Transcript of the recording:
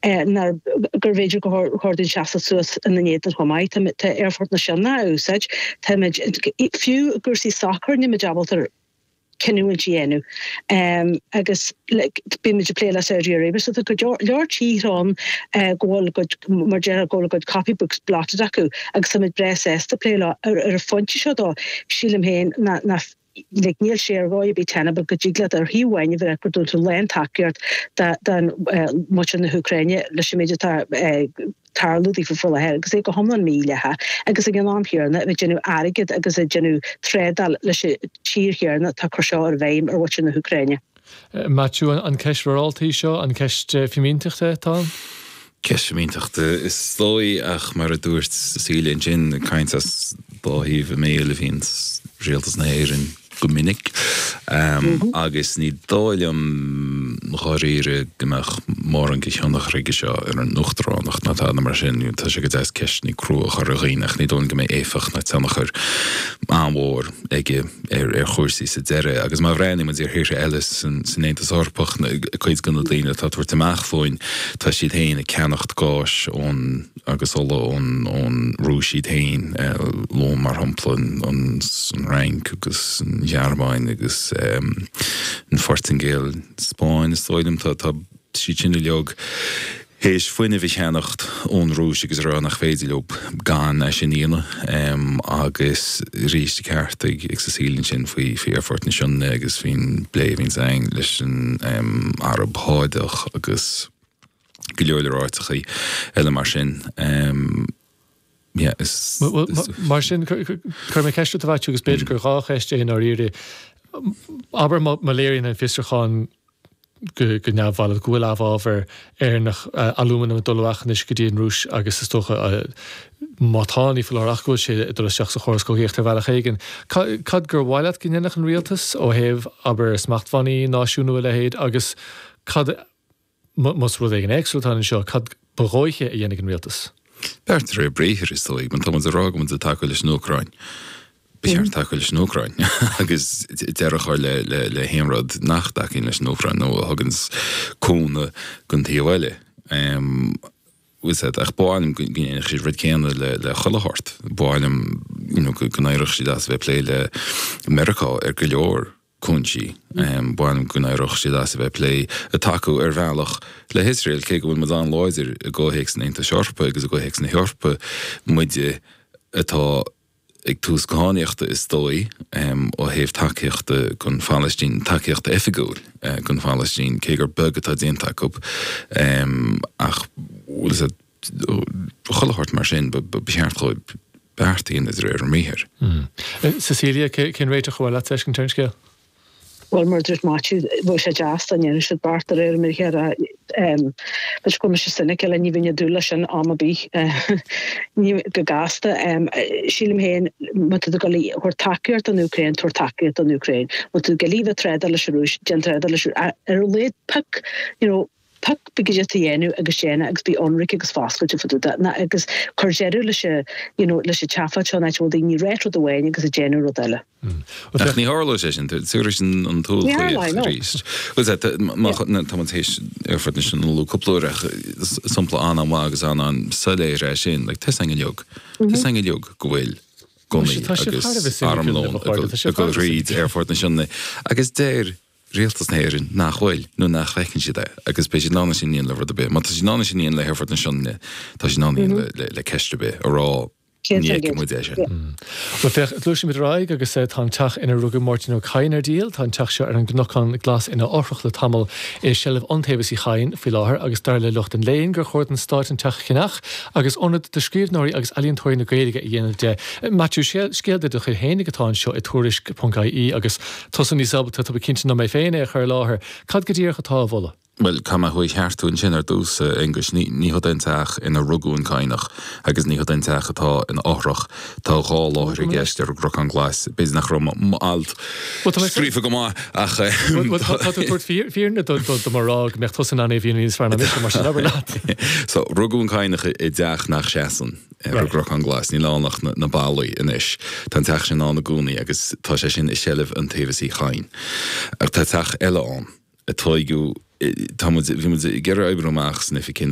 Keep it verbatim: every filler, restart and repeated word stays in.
Ná gur bhféidir go chóir dúinn seasamh suas ina n-éadan chomh maith. Tá Aerfort na Sionainne á úsáid, táimid fiú i gcúrsaí sacair, nílimid ábalta cinniúint a dhéanamh agus bímid ag plé le Saudi Arabia, so tá go leor tíortha ann go bhfuil a gcuid, mar déarfá, go bhfuil a gcuid copybooks blotted acu agus táimid breá sásta plé leo. Ar an phointe seo dó, sílim féin nach like níl sé ar dhóigh ar bith tenable go dtig leat ar thaobh amháin a bheith ag dul tú lántacaíocht don muintir na hÚcráine leis an méid atá ag tarlú daofa faoi láthair agus é go hiomlán mídhleathach agus ag an am chéanna a bheith ag déanamh airgead agus ag déanamh trádáil leis an tír chéanna atá ag cur seo i bhfeidhm ar mhuintir na hÚcráine. Maitiú, an ceist mhorálta í seo, an ceist fimínteachta atá ann? Ceist fimínteachta is dóigh ach mar a dúirt Cecilia ansin, caint as dá thaobh a mbéil a bhíonn rialtas na hÉireann go minic agus ní dóigh liom dháiríre go mbeadh mórán de thionchar aige seo ar an uachtaránacht ná tada mar sin. Tá sé go deas ceisteanna crua a chur ar dhaoine ach ní dóigh liom go mbeidh éifeacht ná tionchar an-mhór aige ar ar chúrsaí sa deireadh. Agus má bhreathnaíonn muid ar thíortha eile san san Aontas Eorpach, cuid de na daoine atá ag tabhairt amach fúinn, tá siad féin ag ceannacht gáis ón agus ola ón ón Rúis iad féin, luaim mar shampla an an Fhrainc agus an Ghearmáin agus an Phortaingéil, Spáinn is dóigh liom, tá tá siad sin uilig théis fuinneamh a cheannacht ón Rúis agus a rá nach féidir leo gan é sin a dhéanamh. Agus arís tá ceart ag Cecilia ansin faoi faoi Aerfort na Sionainne agus faoin bplé a bhíonns againn leis an Araib Shádach agus go leor leor áiteachaí eile mar sin. Yeah, is, is, Mar sin cuirfidh mé ceist ort a Mhaitiú agus b'fhéidir gur dhá cheist é i ndáiríre. Abair má léiríonn an fiosrúchán go go neamhbhalbh go bhfuil amhábhar Éireannach alúmanam ag dul amach anois go dtí an Rúis agus is dócha má tá ní foláir ach go bhfuil sé ag dul isteach sa chóras cogaíochta ar bhealach éigin. Cad gur mhaith leat go ndéanfadh an rialtas ó thaobh abair smachtbhannaí náisiúnú a leithéid agus cad más rud éigin éagsúil atá anseo, cad ba dhóiche a dhéanfaidh an rialtas? Beart de réir briathair is dóigh, má tá muid ag rá go bhfuil muid ag tacú leis an Úcráin. Ba cheart tacú leis an Úcráin agus deireadh a chur le le le haon rud nach dtacaíonn leis an Úcráin nó a thugann cúnamh don taobh eile. Ach ba mhaith liom go ndéanfadh siad rud céanna le le chuile shórt. Ba mhaith liom you know go n-éireodh siad as a bheith ag plé le Meiriceá ar go leor cúinsí. Ba mhaith liom go n-éireodh siad as a bheith ag plé ag tacú ar bhealach le hIosrael, cé go bhfuil muid an-láidir i gcomhthéacs an Aontais Eorpaigh agus i gcomhthéacs na hEorpa, muide atá ag tús cadhnaíochta is dóigh, ó thaobh tacaíochta don Phalaistín, tacaíochta oifigiúil don Phalaistín, cé gur beag atá déanta acu. Ach bhfuil fhios a'd, chuile shórt mar sin, ba cheart dhóibh beart a dhéanamh de réir a mbriathair. Cecilia, cén réiteach a bhfuil leat feiscint ar an scéal? Bhuel, mar a dúirt Maitiú, bheadh sé deas dá ndéanfadh siad beart de réir a mbriathair ach b'fhéidir go bhfuil mise cynical, ní bheinn ag dúil leis sin am ar bith. Ní go gasta. Sílim féin, má tá tú ag dul a thabhairt tacaíocht don Úcráin, tabhair tacaíocht don Úcráin. Má tá tú ag dul a bheith ag trádáil leis an Rúis, déan trádáil leis an Rúis. Ar a laghad, pioc, you know, pioc cad é atá a dhéanamh agus déan é agus bí ionraic agus foscailte fá dtaobh de ná agus cuir deireadh leis an you know leis an tseafóid seo an áit a bhfuil daoine ag ráit rud amháin agus ag déanamh rud eile. Ach ní tharlóidh sé sin, tabharfaidh sin an tsúil Ní tharlóidh, chaoch no. arís. Bhuel, tá, tá, má, Yeah. tá muid théis Aerfort na Sionainne a lua cúpla uair ach sampla an-an-mhaith agus an-an-soiléir é sin, like, tá 'fhios againn uilig, tá 'fhios againn uilig go bhfuil gunnaí Tá sibh thar a bheith agus soiléir, armlón a chairde, tá ag sibh dul thar a bheith thríd Aerfort na Sionainne agus deir Rialtas na hÉireann nach bhfuil, nó nach bhfeiceann siad é, agus beidh siad in ann é sin a dhéanamh le rud ar bith. Má tá siad in ann é sin a dhéanamh le hAerfort na Sionainne, tá siad in ann a dhéanamh le le ceist ar bith, a rá ní fheiceann muid é sin. Bhuel, féach, gluaisimid ar aghaidh agus tá an teach inar rugadh Máirtín Ó Cadhain ar díol. Tá an teach seo ar an gCnocán Glas ina fhothrach le tamall i seilbh Iontaobhas Uí Chadhain faoi láthair agus dar le lucht an léinn gur chóir don Stát an teach a cheannach agus ionad do scríbhneoirí agus ealaíontóirí na Gaeilge a dhéanamh de. Maitiú, scéal de do chuid fhéinig atá anseo i Tuairisc ponc ie agus Tusa níos ábalta, tá mé cinnte, ná mé féin é a chur i láthair. Cad go díreach atá á mholadh? Bhuel, caithfidh mé thú a cheartú ansin ar dtús, a Aonghuis. Ní, ní hod é an teach inar rugadh an Cadhnach agus ní hod é an teach atá ina fhothrach. Tá dhá láthair i gceist ar an gCnocán Glas. B'fhéidir nach raibh m'alt scríofa go maith ach. Bhuel, tá tú ag tabhairt fírinne do mo rá go mbeadh tusa in ann é a mhíniú níos fearr ná mise, mar sin abair leat. So, rugadh an Cadhnach i dteach nach seasann. ar an gCnocán Glas. Níl ann ach na ballaí anois. Tá an teach sin ann i gcónaí agus tá sé sin i seilbh Iontaobhas Uí Chadhain. Ach tá teach eile ann a tóigeadh, tá muid, bhí muid ag iarraidh oibriú amach san oifig cén uair